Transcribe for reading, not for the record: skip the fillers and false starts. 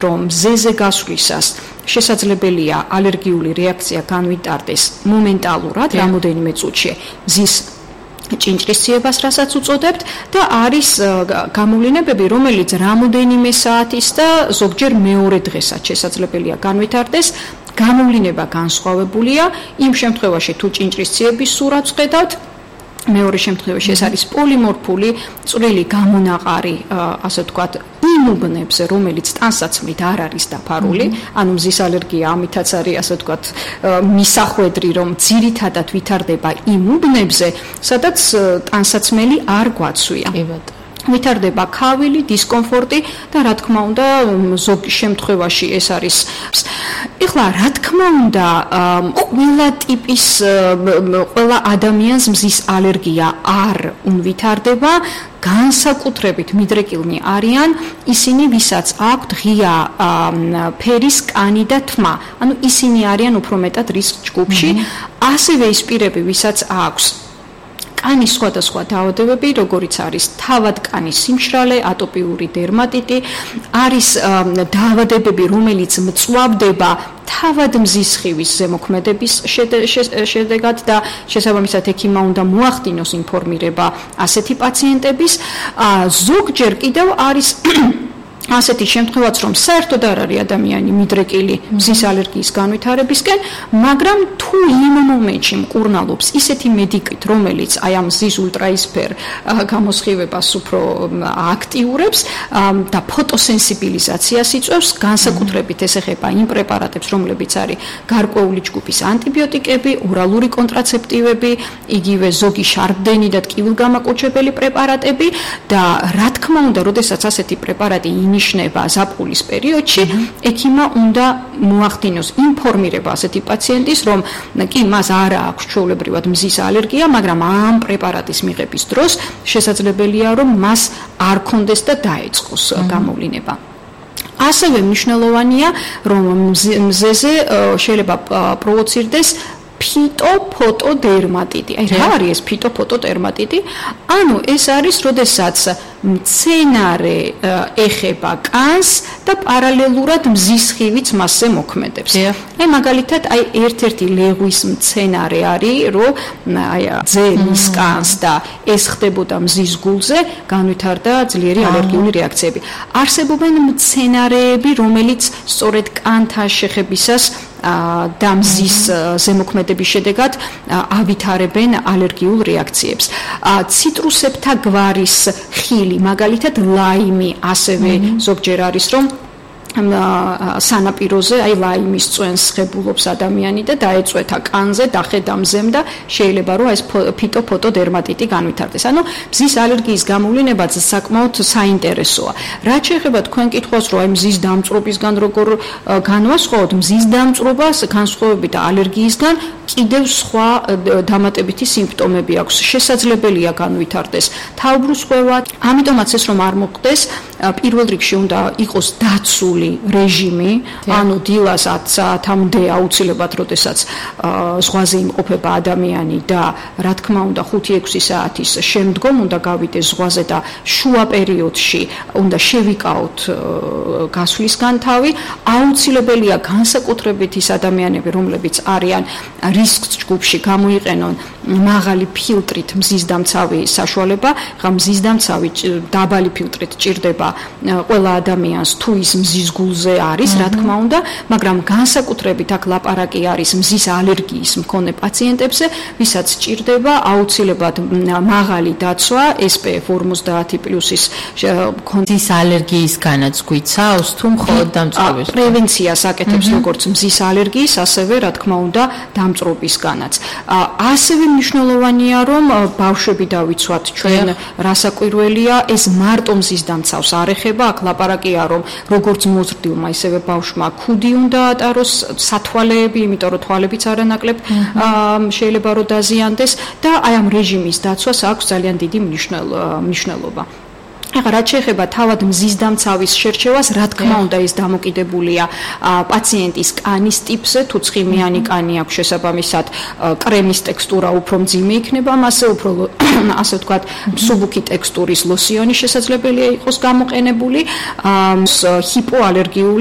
რომ მზეზე გასვლისას შესაძლებელია ალერგიული რეაქცია განვითარდეს მომენტალურად, რამოდენიმე წუთში მზის ჭინჭრისციებას, რასაც უწოდებთ და არის გამოვლინებები, რომელიც რამოდენიმე საათის და ზოგჯერ მეორე დღესაც შესაძლებელია განვითარდეს. გამოვლინება განსხვავებულია იმ შემთხვევაში, თუ ჭინჭრისციების სურათს ხედავთ. მეორე შემთხვევაში ეს არის პოლიმორფული წვრილი გამონაყარი, ასე ვთქვათ, იმ უბნებზე, რომელიც ტანსაცმლით არ არის დაფარული, ანუ მზის ალერგია ამითაც არის, ასე ვთქვათ, მისახვედრი, რომ ძირითადად ვითარდება იმ უბნებზე, სადაც ტანსაცმელი არ გვაცვია. ვითარდება ქავილი, დისკომფორტი და რა თქმა უნდა, ზოგ შემთხვევაში ეს არის. ეხლა რა თქმა უნდა, ყველა ტიპის, ყველა ადამიანს მზის ალერგია არ ვითარდება. განსაკუთრებით მიდრეკილნი არიან ისინი, ვისაც აქვთ ღია ფერის კანი და თმა. ანუ ისინი არიან უფრო მეტად რისკ ჯგუფში. ასევე ის პირები, ვისაც აქვს კანის სხვადასხვა დაავადებები, როგორიც არის თავად კანის სიმშრალე, ატოპიური დერმატიტი, არის დაავადებები, რომელიც მწვავდება თავად მზის სხივის ზემოქმედების შედეგად და შესაბამისად ექიმმა უნდა მოახდინოს ინფორმირება ასეთი პაციენტების. ზოგჯერ კიდევ არის ასეთი შემთხვევაც, რომ საერთოდ არ არის ადამიანი მიდრეკილი მზის ალერგიის განვითარებისკენ, მაგრამ თუ იმ მომენტში მკურნალობს ისეთი მედიკით, რომელიც აი ამ მზის ულტრაისფერ გამოსხივებას უფრო აქტიურებს და ფოტოსენსიბილიზაციას იწვევს, განსაკუთრებით ეს ეხება იმ პრეპარატებს, რომლებიც არის გარკვეული ჯგუფის ანტიბიოტიკები, ორალური კონტრაცეპტივები, იგივე ზოგი შარდენი და ტკივილგამაკოჩებელი პრეპარატები და რა თქმა უნდა, როდესაც ასეთი პრეპარატი ნიშნება ზაფხულის პერიოდში, ექიმმა უნდა მოახდინოს ინფორმირება ასეთი პაციენტის, რომ კი მას არ აქვს ჩვეულებრივად მზის ალერგია, მაგრამ ამ პრეპარატის მიღების დროს შესაძლებელია, რომ მას არ კონდეს და დაეწყოს გამოვლინება. ასევე მნიშვნელოვანია, რომ მზეზე შეიძლება პროვოცირდეს ფიტოფოტოდერმატიტი. აი რა არის ეს ფიტოფოტოდერმატიტი? ანუ ეს არის, როდესაც მცენარე ეხება კანს და პარალელურად მზის სხივიც მასზე მოქმედებს. აი მაგალითად, აი ერთ-ერთი ლეღვის მცენარე არის, რომ აი ძელის კანს და ეს ხდებოდა მზის გულზე, განვითარდა ძლიერი ალერგიული რეაქციები. არსებობენ მცენარეები, რომელიც სწორედ კანთან შეხებისას და მზის ზემოქმედების შედეგად ავითარებენ ალერგიულ რეაქციებს. ციტრუსებთა გვარის ხილი, მაგალითად ლაიმი, ასევე ზოგჯერ არის, რომ სანაპიროზე, აი ლაიმის წვენს ხებულობს ადამიანი და დაეწვეთა კანზე, დახედა მზემ და შეიძლება რომ ეს ფიტოფოტოდერმატიტი განვითარდეს. ანუ მზის ალერგიის გამოვლინებაც საკმაოდ საინტერესოა. რაც შეეხება თქვენ კითხვას, რომ აი მზის დამწვრობისგან როგორ განვასხვაოთ, მზის დამწვრობას განსხვავებით ალერგიისგან კიდევ სხვა დამატებითი სიმპტომები აქვს. შესაძლებელია განვითარდეს თავბრუსხვევა, ამიტომაც ეს რომ არ მოხდეს, პირველ რიგში უნდა იყოს დაცული რეჟიმი, ანუ დილას 10 საათამდე აუცილებლად, როდესაც ზღვაზე იმყოფება ადამიანი და რა თქმა უნდა 5-6 საათის შემდგომ უნდა გავიდეს ზღვაზე და შუა პერიოდში უნდა შევიკავოთ გასვლისგან თავი. აუცილებელია განსაკუთრებით ის ადამიანები, რომლებიც არიან რისკ ჯგუფში, გამოიყენონ მაღალი ფილტრით მზისდამცავი საშუალება. მზის დამცავი დაბალი ფილტრით ჭირდება ყველა ადამიანს, თუ ის მზის გულზე არის, რა თქმა უნდა, მაგრამ განსაკუთრებით აქ ლაპარაკი არის მზის ალერგიის მქონე პაციენტებზე, ვისაც ჭირდება აუცილებლად მაღალი დაცვა SPF 50+-ის მზის ალერგიისგანაც გვიცავს, თუ მხოლოდ დამწვრობის პრევენციას აკეთებს როგორც მზის ალერგიის, ასევე რა თქმა უნდა დამწვრობისგანაც. ასევე მნიშვნელოვანია, რომ ბავშვები დავიცვათ ჩვენ, რასაკვირველია, ეს მარტო მზის დამცავს არ ეხება, აქ ლაპარაკია, რომ როგორც მოზრდილმა, ისევე ბავშვმა ქუდი უნდა ატაროს, სათვალეები, იმიტომ რომ თვალებიც არანაკლებ შეიძლება რომ დაზიანდეს და აი ამ რეჟიმის დაცვას აქვს ძალიან დიდი მნიშვნელობა. ახლა რაც შეეხება თავად მზის დამცავის შერჩევას, რა თქმა უნდა ეს დამოკიდებულია პაციენტის კანის ტიპზე, თუ ცხიმიანი კანი აქვს შესაბამისად კრემის ტექსტურა უფრო მძიმე იქნება, მასე უფრო ასე ვთქვათ მსუბუქი ტექსტურის ლოსიონი შესაძლებელია იყოს გამოყენებული, ჰიპოალერგიული